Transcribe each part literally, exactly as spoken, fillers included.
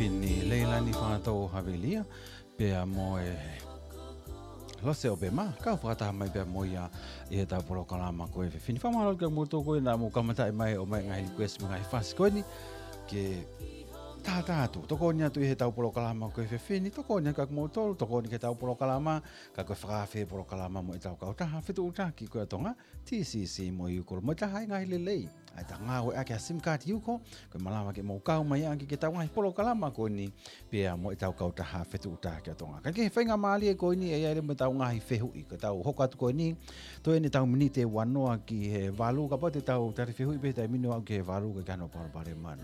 Pini Leilani Fātou Havelia, pea mo e Lose ʻOpema, kau fakataha mai pea mo ia ʻi heʻetau polokalama ko e efiafi ni. Fakamālō kia kimoutolu ko ē naʻa mou kamataʻi mai ʻo ʻomai ngaahi request mo e ngaahi fasi ko eni ke tātā atu. Tokoni atu ʻi heʻetau polokalama ko e efiafi ni, tokoni atu kia kimoutolu, tokoni ki heʻetau polokalama, ka ko e fakaafe polokalama mo ʻetau kautaha fetuʻutaki ko ia ʻa Tonga, T C C mo e Ucall, mo e taha e ngaahi lelei. ʻA ia ʻetau ngāueʻaki ʻa e sim card Ucall, ko e malava ke mou kau mai ʻaki ki heʻetau ngaahi polokalama ko eni, pea mo ʻetau kautaha fetuʻutaki ʻa Tonga. Ka ko e faingamālie ko eni ʻe ʻi ai leva mo ʻetau ngaahi fehuʻi, ko ʻetau hoko atu ko eni, toe ʻeni ʻetau miniti ʻe uanoa ki he valu, kapau te tau tali fehuʻi pē he taimi ni ʻo aʻu ki he valu, ʻikai ke ʻi ai hano palopalema.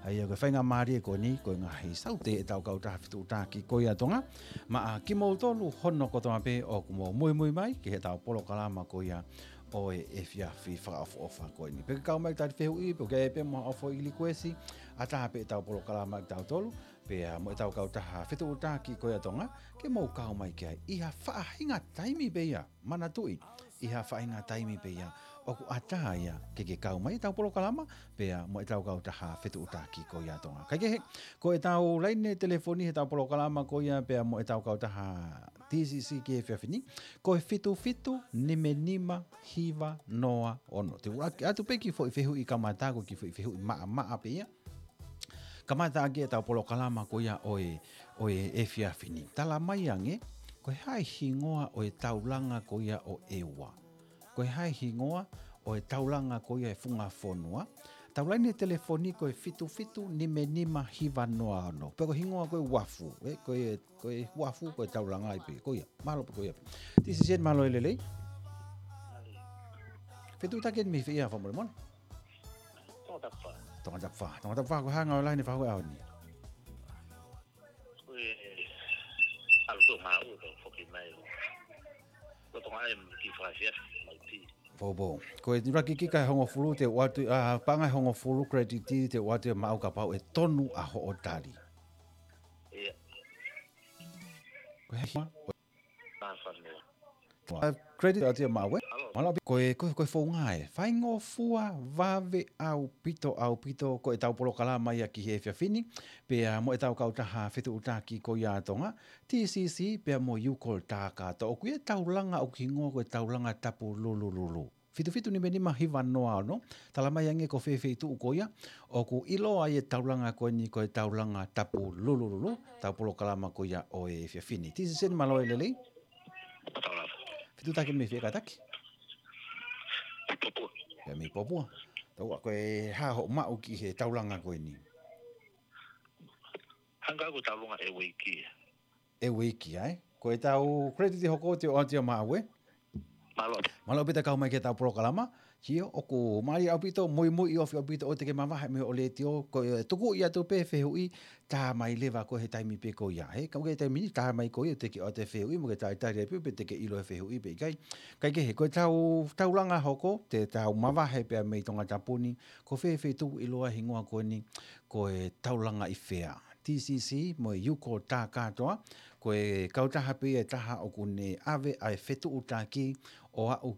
ʻA ia ko e faingamālie ko eni, ko e ngaahi saute ʻetau kautaha fetuʻutaki ko ia ʻa Tonga, maʻa kimoutolu hono kotoa pē ʻoku mou muimui mai ki heʻetau polokalama ko ia ʻo e efiafi fakaʻofoʻofa ko eni. Pe ke kau mai tali fehuʻi, pe ke ʻai pē mo ha ʻofo ʻi likuesi, ʻatā pē ʻetau polokalama ʻatautolu, pea mo ʻetau kautaha fetuʻutaki ko ia ʻa Tonga, ke mou kau mai ki ai ʻi ha faʻahinga taimi pē ia, manatuʻi, ʻi ha faʻahinga taimi pē ia ʻoku ʻatā ia ke ke kau mai ʻetau polokalama, pea mo ʻetau kautaha fetuʻutaki ko ia ʻa Tonga. Kaikehe, ko ʻetau laine telefoni heʻetau polokalama ko ia, pea mo ʻetau kautaha T C C ki he efiafi ni, ko e fitu fitu nima nima hiva noa ono. Te u ʻuluaki ʻatu pē kiʻi foʻi fehuʻi kamata, ko e kiʻi foʻi fehuʻi maʻamaʻa pē ia. Kamata ʻaki ʻetau polokalama ko ia ʻo e, ʻo e efiafi ni. Tala mai ange, ko e hā e hingoa ʻo e taulanga ko ia ʻo ʻEua? Ko e hā e hingoa ʻo e taulanga ko ia ʻo e funga fonua? ʻEtau laine telefoni ko e fitu fitu nima nima hiva noa ono. Pe ko e hingoa ko e Uafu, ē, ko e, ko e Uafu, ko e taulanga ai pē, ko ia. Mālō pē ko ia pē. T C C, mālō e lelei. Fetuʻutaki eni mei fē ia, fakamolemole? Tongatapu fā. Tongatapu fā. Tongatapu fā, ko e hā e ngāue lahi ne fai he ʻaho ni? Ko e ʻalu atu ʻo ngāue, ka u foki mai ʻo lolotonga ʻai e kiʻi fakaefiafi mai pē. Poupou. Ko e ʻuluaki kika ʻe hongofulu te u ʻoatu, ʻa, paʻanga ʻe hongofulu credit te u ʻoatu ia maʻau kapau ʻe tonu ʻa hoʻo tali. ʻIa. Ko e hā e Māfana. ʻA, credit atu ia maʻau ē. Mālō. Mālō ʻaupito, ko e, ko e, ko e founga ē. Faingofua vave ʻaupito, ʻaupito, ko ʻetau polokalama ia ki he efiafi ni, pea mo ʻetau kautaha fetuʻutaki ko ia ʻa Tonga, T C C, pea mo Ucall Takata. ʻOku ʻi ai e taulanga ʻoku hingoa ko e taulanga Tapu Lulululu. Fitu fitu nima nima hiva noa ono, tala mai ange ko fē feituʻu ko ia ʻoku ʻiloa ai e taulanga ko eni ko e taulanga Tapu Lulululu, ʻetau polokalama ko ia ʻo e efiafi ni. T C C, mālō e lelei. Mālō. Fetuʻutaki mei fē kātaki? Popua. Pea mei Popua. Tau ʻa ko e hā hoʻo maʻu ki he taulanga ko eni? Hangē ko e taulanga ʻEueiki. ʻEueiki, ē? Ko ʻetau credit hoko te u ʻoatu ia maʻau ē. Mālō. Mālō ʻaupito e kau mai ki heʻetau polokalama. Sio, ʻoku mālie ʻaupito, muimui ofi ʻaupito ʻoua te ke mavahe mei hoʻo letiō, ko e tuku ia atu pē fehuʻi, tā mai leva koe he taimi pē ko ia. He, ka ʻoku ʻi ai e taimi ni, tā mai koe ʻo te ke ʻoatu e fehuʻi, mo ke talitali ai pē pe te ke ʻilo e fehuʻi pe ʻikai. Kaikehe, ko ʻetau taulanga hoko, te tau mavahe pē mei Tongatapu ni, ko fē feituʻu ʻoku ʻiloa e hingoa ko eni, ko e taulanga ʻi fē. T C C mo e Ucall Takata, ko e kautaha pē ia ʻe taha ʻoku ne ʻave ʻa e fetuʻutaki ʻo aʻu